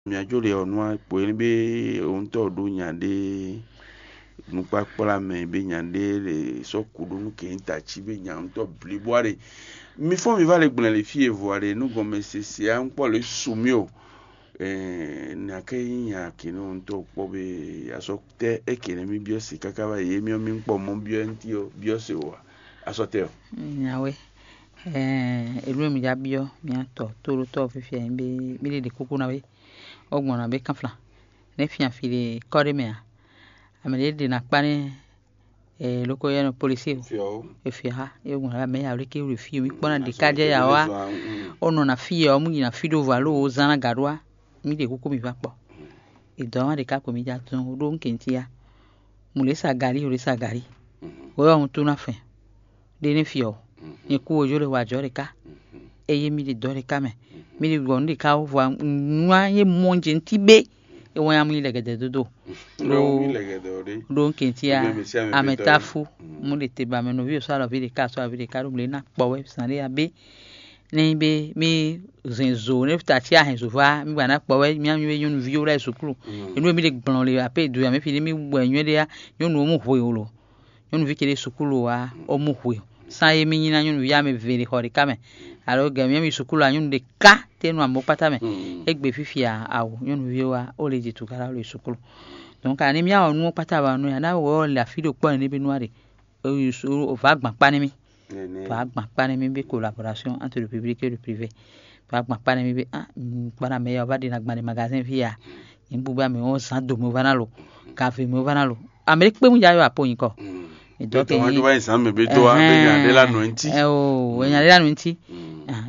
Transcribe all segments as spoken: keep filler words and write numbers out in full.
Mia jó le ɔ́ nú akpo é bé owúntɔ́ ɖó nya ɖé nukpákplá mɛ bé nya ɖé le sɔ́ kú ɖó nú kɛnyítací bé nya ŋutɔ́ blibo ǎ ɖe. Mi fɔ́n mi va le gblɛn le fí e vo ǎ ɖe nú gɔnmɛ sese ǎ ŋkpɔ́ le su mì o. Nya ké nyí nya kǐnɔ ŋutɔ́ kpɔ́ bé asɔ́ tɛ́ é kě nɛ́ mì byɔ́ se káká wá yě myɔ mì kpɔ mɔ byɔ́ ntí ɔ́ byɔ́ se o ǎ. Asɔ́ tɛ́ ɔ́. Nyawe, elu e mi já byɔ́ mia tɔ tóɖótɔ́ fífia nyí bé mí ɖe ɖe kúkú ná wé. Ó gbɔn ná bé kánflán nɛ́ fia fi ɖe kɔ́ ɖé mɛ ǎ. Amɛ ɖě ɖe ná kpá nɛ́ lóko yɛ nɔ polisi o. Efia é gbɔn ná mɛ ya wlé ké wle fí o mí kpɔ́ ná ɖe ká jɛ ya wá. Ó nɔ ná fí yɛ ɔ́ mú yi ná fí ɖó vo alo ó zán ná gǎ ɖó wá. Mí ɖe kúkú mi va kpɔ. È dɔ̌ wá ɖěka ko mi ja zɔn ɖó nkěntí á. Mǔ lě sa galí, ò lě sa galí. Wǒ ɔ́, un tún ná fɛn. Ɖé ní fi ɔ́, nyɛ kú wojó lě wa jɔ̌ ɖě ká. Eye mí ɖi dɔ̌ ɖě ká mɛ. Mí ɖi gbɔ nǔ ɖě ká wú vɔ nǔ á nyɛ mɔ jɛ ntí bé. É wɛn amú yi lɛgɛdɛ dódó. Ɖó nkěntí á, amɛ táfú. Mú ɖe te ba mɛ nɔví ò sɔ́ alɔví ɖě ká sɔ́ alɔví ɖě ká ɖó mlě ná kpɔ wɛ zǎn ɖé ya bé. Nɛ́ nyí bé mí zɛn zo nɛ́ ta cí ahɛn zo vá mí gba ná kpɔ wɛ mí mí nyɔ́nuví ó lɛ́ sukúlu. Enu e mí ɖe gblɔn le apé do ya mí fi ní mí wɛ nyɔ́ ɖé ya nyɔ́nu ó mú hwe o lo. Nyɔ́nuví ce ɖé sukúlu wa ó mú hwe o. Sán é mí nyí ná nyɔ́nuví amɛ ve ɖe xɔ ɖé ká mɛ. Alo gɛ mí mí sukúlu a nyɔ́nu ɖé ká tɛ́ nú amɔ̌ kpátá mɛ. Égbé fífi a awo nyɔ́nuví wa ó le jǐ tukára ó le sukúlu. Donc ani mí awɔ nú ó kpátá wa nú ya ná wɔ le afí ɖo kpɔ́ ɛnɛ bí nú a ɖe. Vǎ gban kpá nɛ́ mì. Vǎ gban kpá nɛ́ mì bí collaboration entre le public et le privé. Vǎ gban kpá nɛ́ mì bí ah kpá ná mɛ ya wá ɖi ná gban ɖi magazin fí ya. Nyǐ gbígbá mɛ ɔ́ zán do mɛ vá ná lo. Gave mɛ vá ná lo. Amɛ ɖé kpé mú ya yɔ apo nyǐkɔ. Ìdɔ́ ke nyí zán mɛ bí tó wá bí nya ɖé lá nɔ ntí. Ɛ o nya ɖé lá nɔ ntí.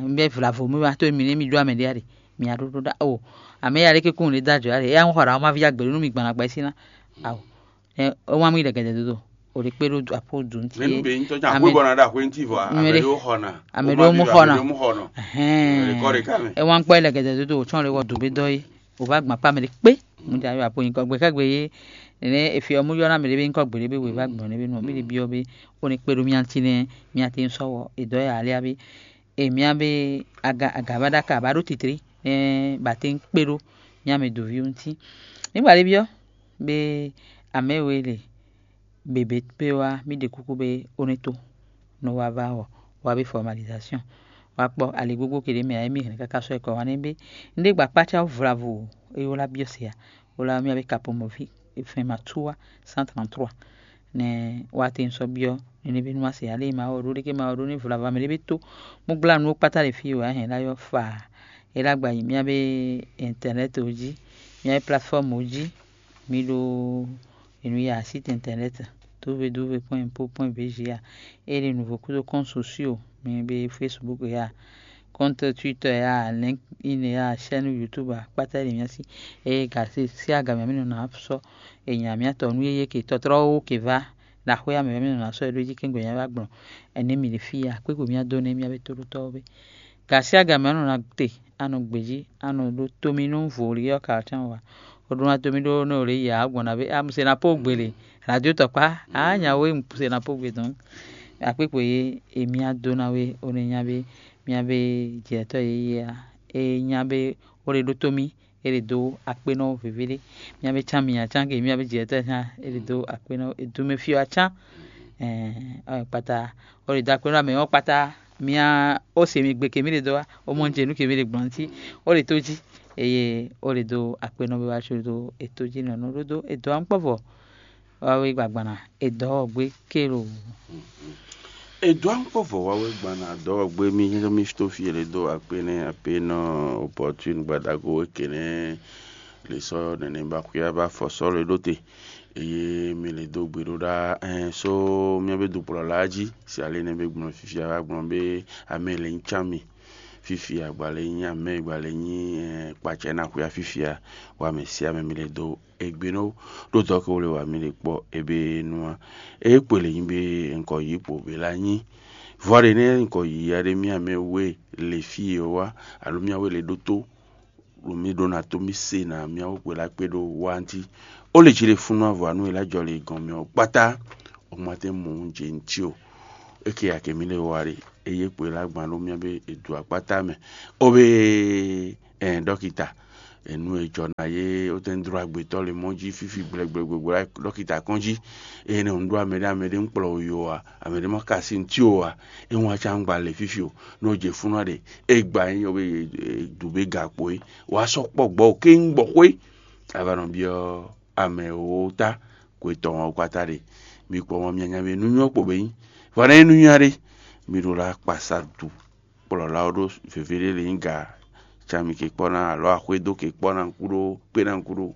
N bɛ vlavo mi wá tó mi nɛ mi ɖó amɛ ɖé ya ɖe. Mi ya ɖó ɖó ɖá o. Amɛ ya ɖé ké kún ɖé dá jɔ ya ɖe. Ya ń xɔ ɖa ɔ́ má ví ya gbɛ̌ nú mi gbana gbɛ̌ sí ná. Awo. Ɛ wá mú yi ɖɛgɛdɛ dódó. O ɖe kpé ɖó apo dùn tí. Mɛ nú bɛ nyí tɔjá àpò bɔna ɖa xwé ntí vɔ amɛ ɖó xɔna. Amɛ ɖó mú xɔna. Ɛhɛn. Ɛ wá ń kpɔ yi ɖɛgɛdɛ dódó o tsɔn lé wɔ dùn bí dɔ yi. O va gbɔn akpá mɛ ɖé kpé. Mo jà yɔ apo nyikɔ gbe kɛgbe yé. Nene efi ɔmú yɔ ná mɛ ɖé bí nyikɔ gbe ɖé bí wè va gbɔn ɖé bí nɔ bí ɖé byɔ bí. O ní kpé ɖó mía ntí nɛ mía ti ń sɔwɔ edɔ yà alé abí. Èmi á bé aga aga vá ɖ'áka bá ɖó titlí nɛ́ ba tɛ́n kpé ɖó mía mɛ dǒví ɔ́ ŋuti. Nígbà ɖé byɔ́ bé amɛ̌ we le běbé pé wá mì ɖe kúkú bé ó ní tó nɔ wá vá ɔ́ wá bé fɔmalizasyon wá kpɔ́ ali gbogbo ke ɖě mɛ ǎ émí hɛn káká sɔ́ ɛ kɔ wá nɛ́ bé un ɖé gba kpácá vlavo é wlá byɔ́ se ǎ. Wlá mì á bé kapɔmɔví fɛn ma túwá cent trente-trois. Nɛ wá te un sɔ́ byɔ́ nɛnɛví nú má se ǎ lé ma wɔ ɖó ɖé ké ma wɔ ɖó ní vlava mɛ ɖé bé tó bó gbla nú ó kpátá ɖe fí wɛ á hɛn lá yɔ fa é lá gba yi mía bé internet ó jí mía bé plateforme ó jí. Mi ɖó enu ya site internet www point impo point bg a. É ɖe nouveau kudo compte sociaux mi bé Facebook ya, compte Twitter ya, LinkedIn ya, chaîne YouTube a kpátá ɖe mía sí. Eye gasi sí aga mɛ mi nɔ ná sɔ́ ènyà mía tɔ nú yéyé ke tɔ́trɔ́ wó ke vá ɖaxwé amɛ mi nɔ ná sɔ́ é ɖó jí kɛ́ngbɛ mía wá gblɔn. Ɛnɛ mi ɖe fí ya kpékpo mía dó nɛ mía bé tóɖótɔ́ ɔ́ bé. Gasi aga mɛ nɔ ná te anɔ gbějí anɔ ɖó tómi nú vǒ li ɔ́ ka ɔ́ tɛ́nwe wá. Oɖó ná tómi ɖó nɔ lě yi ǎ gbɔn ná bé amuse ná pó gbele radio tɔkpá aa nya wé muse ná pó gbe dɔn. Akpékpo yé èmi á dó ná wé ó ní nya bé mía bé jɛtɔ́ yě yé a é nya bé ó ɖe ɖó tómi é ɖe dó akpénɔ vǐví ɖé. Mía bé cán mi nya cán ke mía bé jɛtɔ́ cán é ɖe dó akpénɔ edúmɛ fí wá cán. Ɛɛ kpata ó ɖe dó akpénɔ amɛ ɔ́ kpata mía ó se mi gbe ke mí ɖe dó wá ó mɔ jɛ nú ke mí ɖe gbɔn ntí ó ɖe tó jí eye ó ɖe dó akpénɔ bí wá có dó etó jí nɔ nú ɖó dó edó ankpɔ́vɔ wá wé gbagbana edɔ́ ɔ́ gbé kélo. Edó ankpɔ́vɔ wá wé gbana dɔ́ ɔ́ gbé mí mí tó fí e lě dó akpé nɛ́ akpé nɔ opɔtún gbadago wé ke nɛ́ lě sɔ́ nɛnɛ ba xwíá ba fɔ sɔ́ lě ɖó te. Eye mi lě dó gbe ɖó ɖá ɛn só mía bé dukplɔ́la jí si ali nɛ bé gblɔn fifia wá gblɔn bé amɛ lě nyí cán mi. Fifia gbalɛ nyí amɛ gbalɛ nyí ɛn kpatsɛ ná xwíá fifia wá mɛ sí amɛ mi lě dó egbe nɔ ɖó dɔ̌ ke wle wǎ mì ɖe kpɔ́ ebe nú a. Eye kpele nyi be ŋkɔ yǐ kpo be la nyi vɔ ɖe nɛ ŋkɔ yǐ ya ɖe mía mɛ we le fí e wá alo mía we le ɖótó ɖo mì ɖó ná tó mì se ná mía wó kpe la kpe ɖó wá ntí. Ó le jí ɖe fúnú avɔ anu e la jɔ le gɔn mɛ ɔ́ kpátá. O ma tɛ mɔ un jɛ ŋtí o. Eke ya kɛ mi le wa ɖe eye kpe la gban ɖó mía be edu akpátá mɛ. O be ɛn dɔkita Enu e jɔ ná yé wotɛn dló agbetɔ le mɔ jí fífi gblɛgbɛgbɛgbɛ ɖɔkita kɔn jí. Eye ne un ɖó amɛɖé amɛɖé un kplɔ yo a, amɛɖé ma ka si ntí o a, e wọn aca un gba le fífi o. N'o jɛ fúnɔ ɖe, e gba nyí ɔ́ be dubé gakpo é, wàá sɔ́ kpɔ gbɔ o kéŋ gbɔ xwé. Ava nɔ byɔ́ amɛ wo ta kwe tɔn ɔ́ kpata ɖe. Mi kpɔ mɔ mianya be nú nyɔ́ kpo be nyí. Vɔ ne é nú nyɔ́ ɖe, mi ɖo la kpasa du kplɔ̌la ɔ́ ɖó věvé ɖé lě nyí ga, can mi ke kpɔ́ ná alɔ axwé dó ke kpɔ́ ná kúɖó kpé ná kúɖó.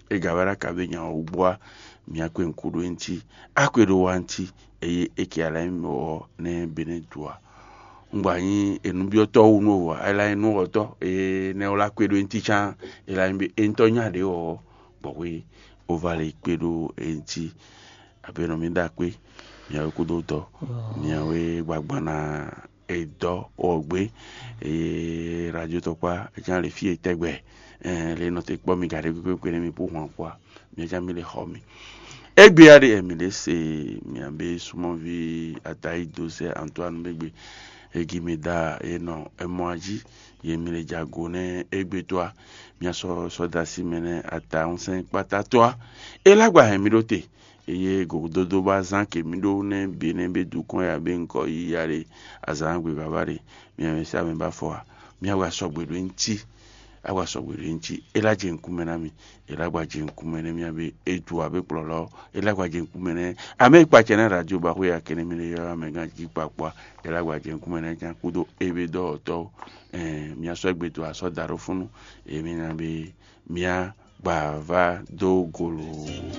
É ga wɛ ɖo aka bé nya ɔ́ wú bó wá, mǐ á kpe nǔkú ɖó é ŋuti. Á kpe ɖó wá ŋuti, eye é ke alá nyí mɔ̌ ɔ́ nɛ́ Benɛ́du ǎ. Un gba nyí enúbyɔ́tɔ́ wú nú wǎ, é lá nyí nú wɔ̌tɔ́, énɛ́ ɔ́ lá kpe ɖó é ŋuti cán, é lá nyí bé é ŋutɔ́ nya ɖě ɔ́, gbɔ̌xwé ó vá lě kpe ɖó é ŋuti. Abe nɔ mì ɖo akpé, mǐ wɛ kúdó dɔ̌, mǐ wɛ gbagban ná e dɔ̌ ɔ́ gbé. Eye radio tɔkpá é ká lě fí e tɛgbɛ, lě nɔ te kpɔ́ mi gaɖé kpékpé nɛ́ mi pó hwan kpó a, mǐ ká mi lě xɔ mi. Égbé ya ɖe mǐ ɖe se mǐ be súnmɔ́ví Atayi Dozɛ Antoine bégbe egi mi da e nɔ emɔ jí ye mi le jago nɛ égbé tó a, mia sɔ sɔ da si mɛ nɛ ata ŋusɛn kpata tó a. E lá gba hɛn mi ɖó te, eye gogododo ba zán ke mi ɖó nɛ be nɛ be dukɔn ya be ŋkɔ yi ya ɖe azǎn gbe baba ɖe. Mia mɛ sa mɛ ba fɔ a, mia wa sɔgbe ɖo ŋti awa sɔgbe ɖo ŋti. E lá jɛ ŋkumɛ ná mi, e lá gba jɛ ŋkumɛ nɛ mia be e ju a be kplɔlɔ, e lá gba jɛ ŋkumɛ nɛ ame kpatsɛ nɛ radio ba xwe ya kɛnɛ mi le yɔ amɛ gan ji kpakpɔ. E lá gba jɛ ŋkumɛ nɛ kan kúdo e be dɔwɔtɔ́. Mia sɔ́ gbe to asɔ da ɖo fúnnu, emi na be mia gba va dó golo.